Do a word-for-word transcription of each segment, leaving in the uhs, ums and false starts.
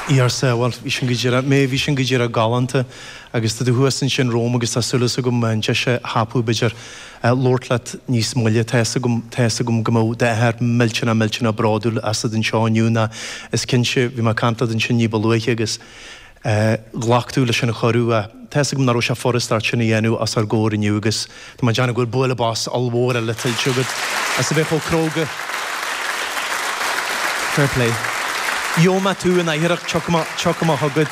Arsa, bhuel, bhí sin go díreach, mé, bhí sin go díreach galánta agus tá tú thuas ansin romham agus tá súil agam an deis a thapú b'fhéidir labhairt leat níos moille. Tá fhios agam, tá fhios agam go mbeadh d'athair millteanach millteanach bródúil asat anseo inniu ná is cinnte, bhí mé ag caint leat ansin ní ba luaithe agus ghlac tú leis an chuireadh. Tá fhios agam nach raibh sé furast ort sin a dhéanamh os ár gcomhair inniu agus tá mé ag déanamh go bhfuil bualadh bos ollmhór eile tuillte agat as a bheith chomh cróga. Fair play. Gheobhaidh mé tú in oidhreacht, tiocfaidh mé chugat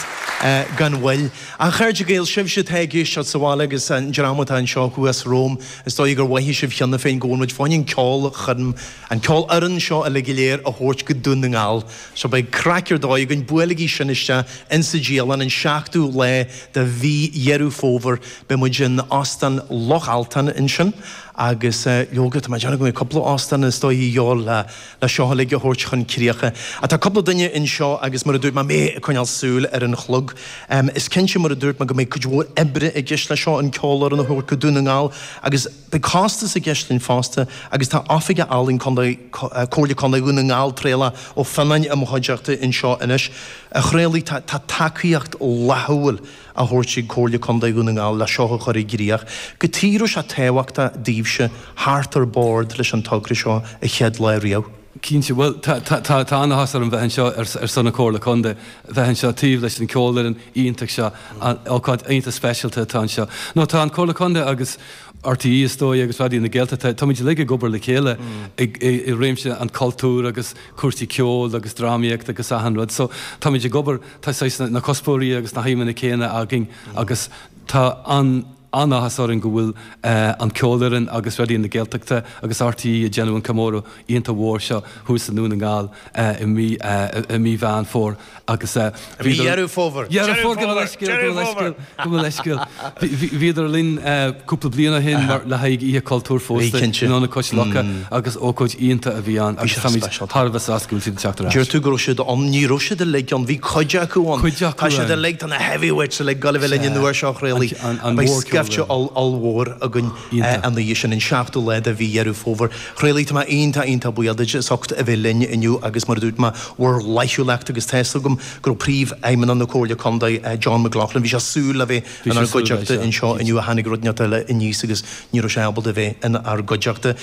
gan mhoill. A chairde Gael, sibhse atá ag éisteacht sa bhaile agus an dream atá anseo thuas romham, is dóigh gur mhothaigh sibh cheana féin go bhfuil muid fá choinne an ceolchoirm, an ceolfhoireann seo uilig go léir a thabhairt go Dún na nGall. So beidh craic ar dóigh againn, buailigí sin isteach insa dialann an seachtú lá de mhí Dheireadh Fómhair. Beidh muid in Óstán Loch Altan ansin agus leoga, tá mé ag déanamh go mbeidh cúpla óstán is dóigh a dhíobháil le le seo uilig a thabhairt chun críocha. Ach tá cúpla duine anseo agus mar a dúirt mé, mé ag coinneáil súil ar an chlog. Is cinnte mar a dúirt mé go mbeidh cuid mhór oibre i gceist leis seo, an ceolfhoireann a thabhairt go Dún na nGall agus beidh costas i gceist linn fosta agus tá Oifigeach Ealaíon Contae, Comhairle Contae Dhún na nGall, Traolach Ó Fionnáin i mo chuideachta anseo anois. A Thraolaigh, tá tá tacaíocht fhlaithiúil á thabhairt ag Comhairle Contae Dhún na nGall le seo a chur i gcrích. Cad chuige a raibh sé tábhachtach daoibhse theacht ar bord leis an togra seo an chéad lá riamh? Cinnte, bhuel, tá tá tá an-áthas orm bheith anseo ar ar son na Comhairle Contae, bheith anseo taobh leis an ceolfhoireann iontach seo, an ócáid iontach speisialta atá anseo. No, tá an Comhairle Contae agus RTÉ is dóigh agus Raidió na Gaeltachta, táimid uilig ag obair le chéile i i réimse an cultúir agus cúrsaí ceoil agus drámaíocht agus achan rud. So táimid ag obair, tá saghas na cuspóirí agus na haidhmeanna céanna againn agus tá an an-áthas orainn go bhfuil an ceolfhoireann agus Raidió na Gaeltachta agus RTÉ ag déanamh an comóradh iontach mhór seo thuas i nDún na nGall i mí i mí Mheán Fómhair agus I mí Dheireadh Fómhair. Deireadh Fómhair, gabh mo leithscéal, gabh mo leithscéal, gabh mo leithscéal. Bhíodar linn cúpla bliain ó shin mar le haghaidh Oíche Cultúir fosta in Ionad Cois Locha agus ócáid iontach a bhí ann agus táimid thar a bheith sásta go bhfuil siad ag teacht ar ais. Deir tú go raibh siad ann, ní raibh siad uilig ann, bhí cuid acu ann. Cuid acu Tá siad uilig, tá na heavyweights uilig ag dul a bheith linn an uair seo, a Thraolaigh. An Beidh mhór scaifte ollmhór againn an oíche sin, an seachtú lá de mhí Dheireadh Fómhair. A Thraolaigh, tá mé iontach, iontach buíoch duit as ucht a bheith linn inniu agus mar a dúirt mé, bhur fhlaithiúlacht agus tá fhios agam go raibh Príomhfheidhmeannach na Comhairle Contae, John McLaughlin, bhí sé ag súil le bheith inár gcuideachta anseo inniu ach tháinig rud inteacht eile aníos agus ní raibh sé ábalta bheith inár gcuideachta.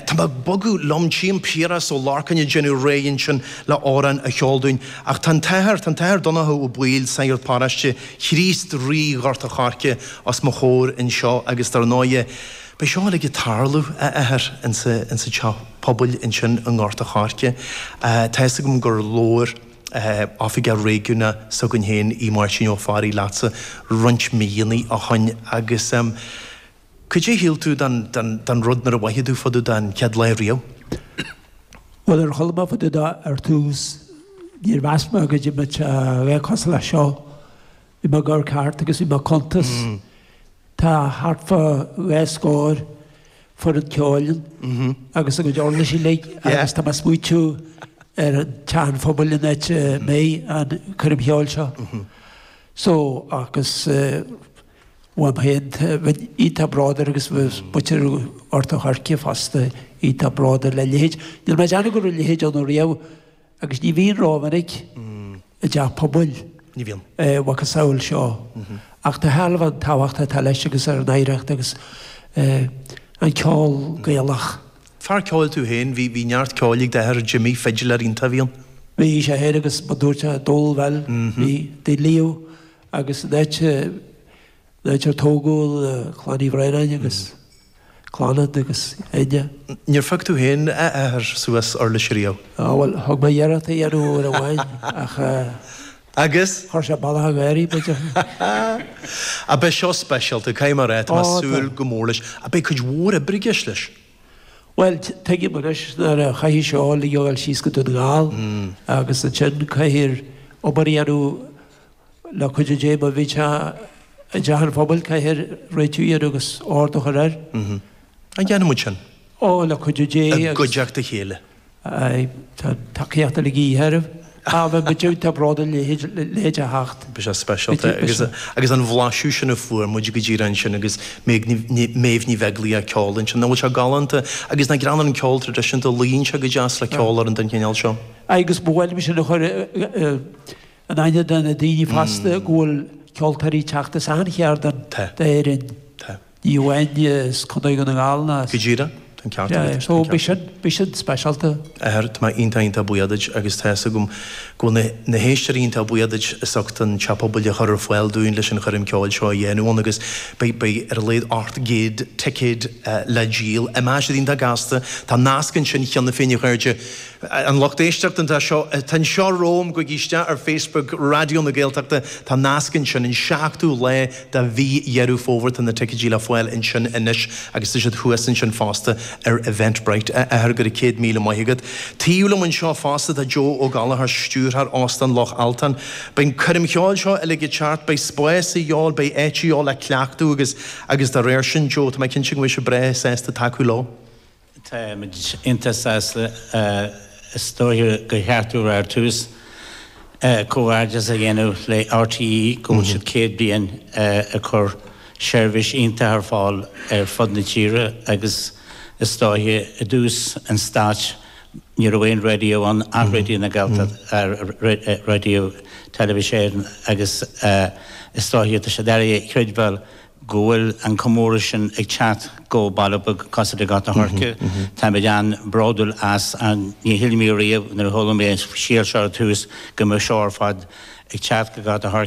Tá mé ag bogadh liom, tchím Piaras Ó Lorcáin ag déanamh réidh ansin le amhrán a cheol dúinn ach tá an tAthair, tá an tAthair Donncha Ó Baoill, Sagart Paróiste Chríost Rí Ghort a' Choirce os mo chomhair anseo agus dar ndóighe beidh seo uilig ag tarlú, a Athair, insa teach pobail ansin i nGort a' Choirce. Tá fhios agam gur labhair Oifigeach Réigiúnach s'againn féin, Aodh Máirtín Ó Fearraigh, leatsa roinnt míonna ó shoin agus cad é a shíl tú den den rud nuair a mhothaigh tú fá dtaobh de an chéad lá riamh? Bhuel, ar chuala mé fá dtaobh de ar tús, níor mheas mé go mbeadh sé a bheith cosúil leis seo. Bhí mé ag amharc thart agus bhí mé ag cuntas. Tá thart fá dhá scór foireann ceoil ann agus a gcuid uirlisí uilig agus tá mé ag smaointiú ar an teach an phobail an áit a mbeidh an coirm cheoil seo. So, agus uaim féin, bheinn iontach bródúil agus bheadh muintir Ghort a' Choirce fosta iontach bródúil le leithéid. Níl mé ag déanamh go raibh a leithéid ann riamh agus ní bhíonn rómhinic i dteach pobail. Ní bhíonn. Mhacasamhail seo. Ach tá shealbh an tábhacht atá leis agus ar an oidhreacht agus an ceol Gaelach. Fear ceoil tú féin, bhí bhí neart ceoil ag d'athair Jimmy, fidiléir iontach a bhí ann. Bhí sé féin agus mar dúirt sé Dól Bhil, bhí de Leo agus an áit an áit ar tógadh Clann Uí Bhraonáin agus Clannad agus Enya. Níor phioc tú féin, a athair, suas uirlis riamh? Á, bhuel, thug mé iarracht a dhéanamh uair amháin ach. Agus? Chuir sé bealach an gháirí, b'fhéidir. Ach beidh seo speisialta, caithfidh mé a rá, tá mé ag súil go mór leis. Ach beidh cuid mhór oibre i gceist leis. Bhuel, tuigim anois nuair a chaithfidh seo uilig a dhul síos go Dún na nGall agus ansin caithfear obair a dhéanamh le cuidiú Dé má bhíonn sé i dteach an phobail, caithfear réitiú a dhéanamh agus ord a chur air. An ndéanfaidh muid sin? Ó, le cuidiú Dé agus. I gcuideachta a chéile. Aye, tá tacaíocht uilig a dhíth oraibh. Á, bheadh muid iontach bródúil a leithéid a theacht. Beidh sé speisialta agus agus an bhlaiseadh sin a fuair muid go díreach ansin agus Méabh Ní Bheaglaoich ag ceol ansin, nach bhfuil sé galánta agus nach greannmhar an ceol traidisiúnta, luíonn sé go deas le ceolfhoireann den chineál seo. Aye, agus ba mhaith liom sin a chur in aithne do na daoine fosta go bhfuil ceoltóirí ag teacht as achan cheard d'Éirinn. Ní amháin as Contae Dhún na nGall ná as. Go díreach, tá an ceart agat. So bhí sin, bhí sin speisialta. A Athair, tá mé iontach iontach buíoch duit agus tá fhios agam go bhfuil na héisteoirí iontach buíoch duit as ucht an Teach Pobail a chur ar fáil dúinn leis an choirm ceoil seo a dhéanamh ann agus beidh, beidh ar a laghad ocht gcéad ticéad le díol. Imeoidh siad iontach gasta. Tá nasc ansin cheana féin a chairde. An lucht éisteachta atá seo, atá anseo romham, gabhaigí isteach ar Facebook Raidió na Gaeltachta, tá nasc ansin, an seachtú lá de mhí Dheireadh Fómhair, tá na ticéidí le fáil ansin anois agus tá siad thuas ansin fosta ar Eventbrite. A athair, go raibh céad míle maith agat. Taobh liom anseo fosta tá Joe Ó Gallchóir, stiúrthóir Óstán Loch Altan. Beidh an coirm cheoil seo uilig ag teacht, beidh spás a dhíobháil, beidh áit a dhíobháil le cleachtadh agus agus dá réir sin, Joe, tá mé cinnte go mbeidh sibh breá sásta tacú leo. Táimid iontach sásta. Is dóiche gur cheart dúinn ar tús comhghairdeas a dhéanamh le RTÉ go bhfuil siad céad bliain ag cur seirbhís iontach ar fáil ar fud na tíre agus is dóiche i dtús an stáit ní raibh aon raidió ann ach Raidió na Gaeltachta, Raidió Teilifís Éireann agus is dóiche tá sé doiligh a chreidbheáil go bhfuil an comóradh sin ag teacht go baile beag cosúil le Gort an Choirce. Táimid an-bhródúil as. Ní shíl mé riamh nuair a chuala mé an scéal seo ar tús go mbeadh seo ar fad ag teacht go Gort an Choirce.